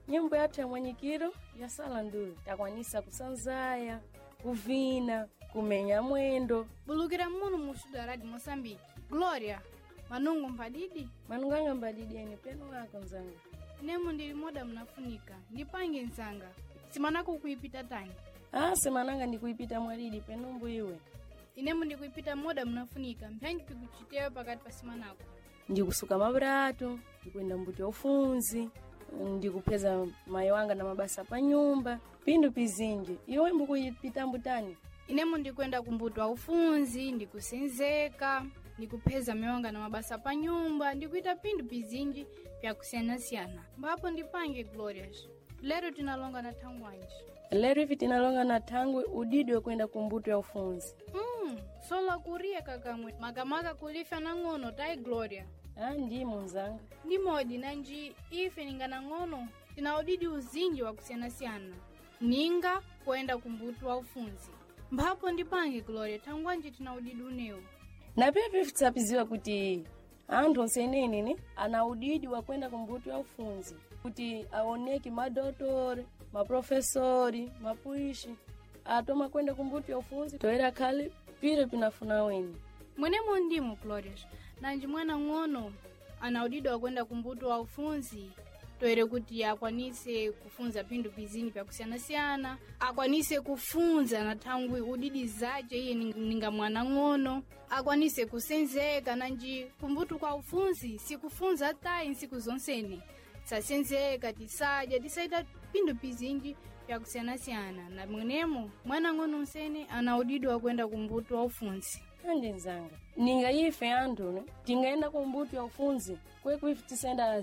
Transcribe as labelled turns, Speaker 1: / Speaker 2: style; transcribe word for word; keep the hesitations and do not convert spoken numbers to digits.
Speaker 1: Nyimbo yathu ya mwanyikiro ya sala ndulu takwanisa kusanzaya, kuvina, kumenya mwendo.
Speaker 2: Bulukira munu mu studio ya Radio Moçambique. Glória, manungu mpadidi?
Speaker 1: Manunganga mbadidieni penu wako nzanga.
Speaker 2: Nemo ndili moda mnafunika, ndipange nzanga. Simanako kuipita tani.
Speaker 1: Ah, semananga ndikuipita mwalidi penumbu iwe.
Speaker 2: Inemo ndikuipita moda mnafunika, mpyangi pikuchitewa pakati pa simanako.
Speaker 1: Ndikusuka mabratu, ndikuenda mbuti ya ufunzi, ndikupeza mayi wanga na mabasa pa nyumba, pindu pizinji. Iwe mbukuipita mbutani?
Speaker 2: Inemo ndikwenda kumbuto wa ufunzi, ndikusenzeka, ndikupheza mewanga na mabasa pa nyumba, ndikuita pindu pizinji pyakusiyanasiyana. Mbapo ndipange Glorious. Lero tinalonga na thangwanji.
Speaker 1: Lero ivi tinalonga na thangwi udidi wekwenda kumbuto ya ufunzi.
Speaker 2: Mm, sola kuriya kakamwe makamaka kulifya nang'ono tayi Gloria.
Speaker 1: Ah, ndimo nzanga.
Speaker 2: Ndimodi nanji ife ninga nang'ono tina udidi uzinji wakusiyanasiyana ninga kuenda kumbuto wa ufunzi. Mphapo ndipange Gloria, thangwanji tina udidi unewu.
Speaker 1: Na pia pifitsapiziwa kuti anthu onsenene ne ana udidi wa kwenda kumbuto ya ufunzi kuti aoneke madotori, maprofesori, mapuishi atoma kwenda kumbuto ya ufunzi toera khale pire pinafuna weni.
Speaker 2: Mwenemo ndimo Glorious, nanji mwana ng'ono ana udidi wakwenda kumbuto wa ufunzi toere kuti akwanise kufunza phindu pizinji pyakusiyanasiyana, akwanise kufunza na thangwi udidi zace iye ning- ninga mwana ng'ono, akwanise kusenzeka nanji kumbuto kwa ufunzi sikufunza tayi nsiku zonsene tisasenzeka, tisadya, tisaita phindu pizinji pyakusiyanasiyana. Na mwenemo mwana ng'ono nsene ana udidi wakwenda kumbuto wa ufunzi.
Speaker 1: Andi nzanga ninga ife anthu ne tingaenda kumbuto ya ufunzi kwekwife tisenda